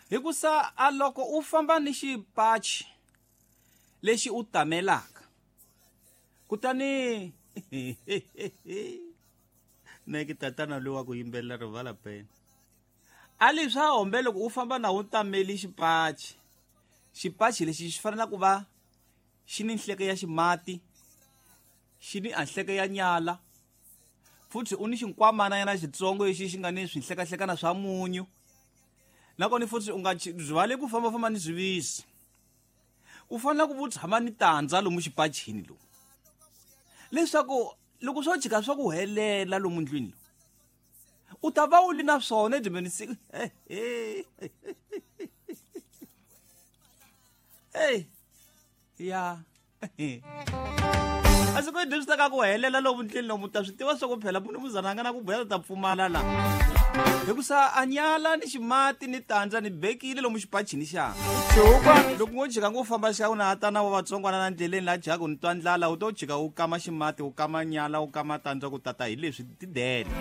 Hikusa a loko u famba ni xipachi lexi u tamelaka kutani neke tatana loyi wa ku yimbelela rivala pena a li swa hombe loko u famba na wu tameli xipachi xipachi lexi xi fanele ku va xi ni nhleke ya ximati xi ni anhleke ya nyala futhi u ni xinkwamana yana xitsongo lexi xi nga ni swinhlekahlekana swa munyu nakona futhi u nga rivali ku fambafamba ni swivisi u fanele ku u tshama ni tandza lomu xipachini lomu leswaku loko swo jika swa ku helela lomu ndlwini lomu u ta va u li na swona edyembeni siku hey ya a swi ku swi ta ka ku helela lomu ndleni lomu ta swi tiva swa ku phela munhu muzana a nga na ku buya ta pfumala la hikusa a nyala ni ximati ni tandza ni bekile lomu xipachini xa loko ngo jika ngo famba xa u na tana wa vatsongwana na ndleleni la jaka ni twa ndlala u to jika u kama ximati u kama nyala u kama tandza ku tata hi leswi tidele.